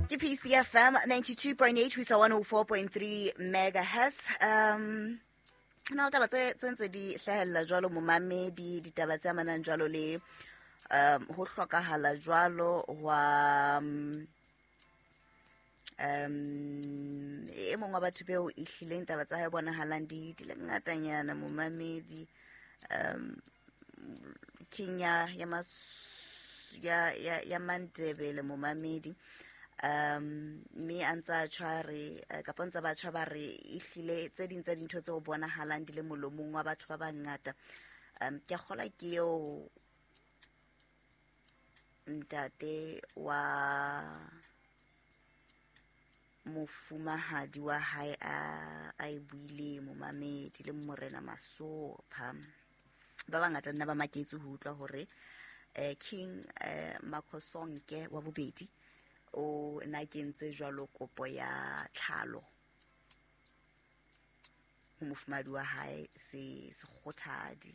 Ke PCFM 92.8 ho isa 104.3 megahertz. Na le taba tse ntse di hlahella jwalo momamedi, ditaba tse amanang jwalo le ho hlokahala jwalo hwa e mong wa batho beo e hlileng taba tsa hae bonahalang di le ngatanyana momamedi, king ya Mandebele momamedi. Mme a ntse a tjho re, kapa ntse ba tjho ba re ehlile tse ding tsa dintho tseo bonahalang di le molomong wa batho ba bangata. Ke a kgolwa ke eo ntate wa mofumahadi wa hae a e buile momamedi le morena Masopha. Ba bangata nna ba maketse ho utlwa hore King Makhosonke wa bobedi o na kentse jwalo kopo ya tlhalo ho mofumahadi wa hae se Sekgothadi.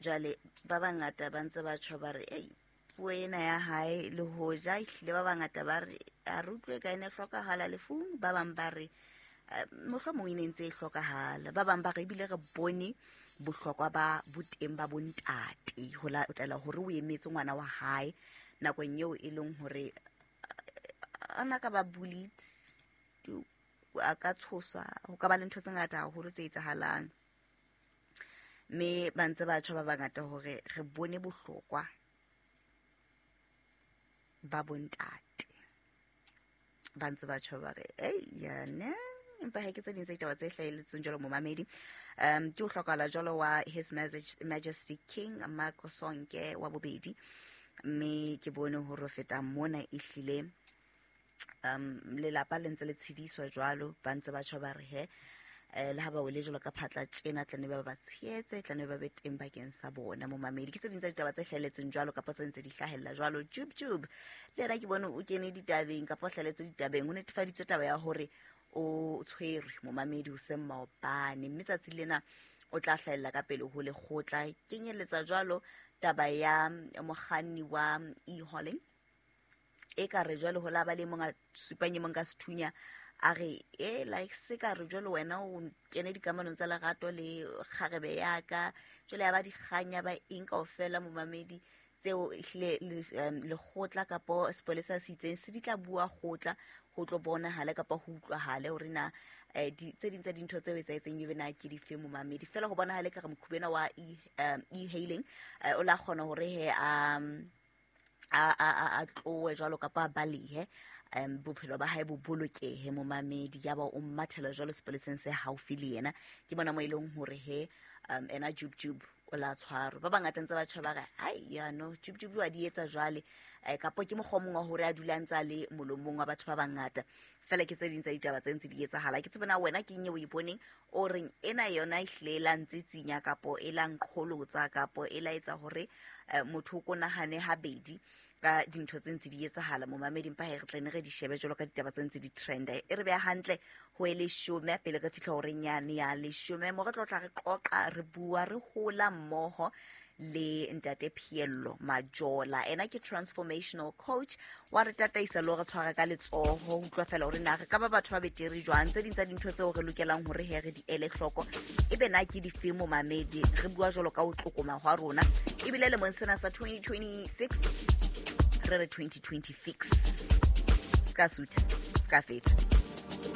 Jwale ba bangata ba ntse ba tjho ba re ei puo ena ya hae le hoja ehlile ba bangata ba re a re utlwe ka ene hlokahala lefung, ba bang ba re mohlomong e ne ntse e hlokahala, ba bang ba re ebile re bone bohlokwa ba boteng ba bontate ho latela hore o emetse ngwana wa hae nakong eo e leng hore a na ka ba bullied, a ka tshoswa, ho ka ba le ntho tse ngata haholo tse etsahalang. Mme ba ntse ba tjho ba bangata hore re bone bohlokwa ba bontate, ba ntse ba tjho ba re ei yane, empa ha ke tse ding tsa ditaba tse hlahelletseng jwalo momamedi. Ke ho hlokahala jwalo wa His Majesty King Makhosonke wa bobedi, mme ke bone hore ho feta mona ehlile lelapa le ntse le tshediswa jwalo, ba ntse ba tjho ba re he le ha ba wele jwalo ka phatla tjena tla ne ba ba tshehetse, tla ne ba be teng bakeng sa bona momamedi. Ke tse ding tsa ditaba tse hlahelletseng jwalo kapa tse ntse di hlahella jwalo. Jub Jub le yena ke bone o kene ditabeng kapa o hlahelletse ditabeng, ho netefaditswe taba ya hore o tshwerwe momamedi hoseng maobane, mme tsatsi lena o tla hlahella ka pele ho lekgotla. Kenyelletsa jwalo taba ya mokganni wa e-hauling e ka re jwale ho la ba le mong a supang e mong ka sethunya a re e like se ka re jwale wena o kene dikamanong tsa lerato le kgarebe ya ka, jwale ya ba dikgang ya ba eng kaofela momamedi tseo ehlile lekgotla kapo sepolesa se itseng se di tla bua kgotla ho tlo bonahale kapa ho utlwahale hore na tse ding tsa dintho tseo etsahetseng ebe na ke dife momamedi. Feela ho bonahale ka re mokhubena wa e-hailing o la kgona hore he a tlohe jwalo kapa a balehe, bophelo ba hae bo bolokehe momamedi, ya ba o mmathela jwalo sepoleseng se haufi le yena. Ke bona mo e leng hore he ena Jub Jub o la tshwarwa. Ba bangata ntse ba tjho ba re ai yano Jub Jub wa di etsa jwale, kapo ke mokgwa o mong wa hore a dula ntse a le molomong wa batho ba bangata. Feela ke tse ding tsa ditaba tse ntse di etsahala. Ke tsebe na wena ke eng eo o e boneng o reng ena yona ehlile e la ntse tsinya kapo e la nqholotsa kapo e la etsa hore motho o ko nahane habedi ka dintho tse ntse di etsahala momamedi. Empa he re tle ne re di shebe jwalo ka ditaba tse ntse di trenda, e re beha hantle ho e leshome pele re fihla horeng yane ya leshome mo re tlo tla re qoqa re bua re hola mmoho le ntate Phiello Majola. Ena ke transformational coach wa re tataisa le re tshwara ka letsoho ho utlwa fela hore na re ka ba batho ba betere jwang, tse ding tsa dintho tseo re lokelang hore he re di ele hloko ebe na ke dife momamedi. Re bua jwalo ka ho tlokoma hwa rona ebile lemong sena sa 2026 re re 2026 ska sutha ska feta.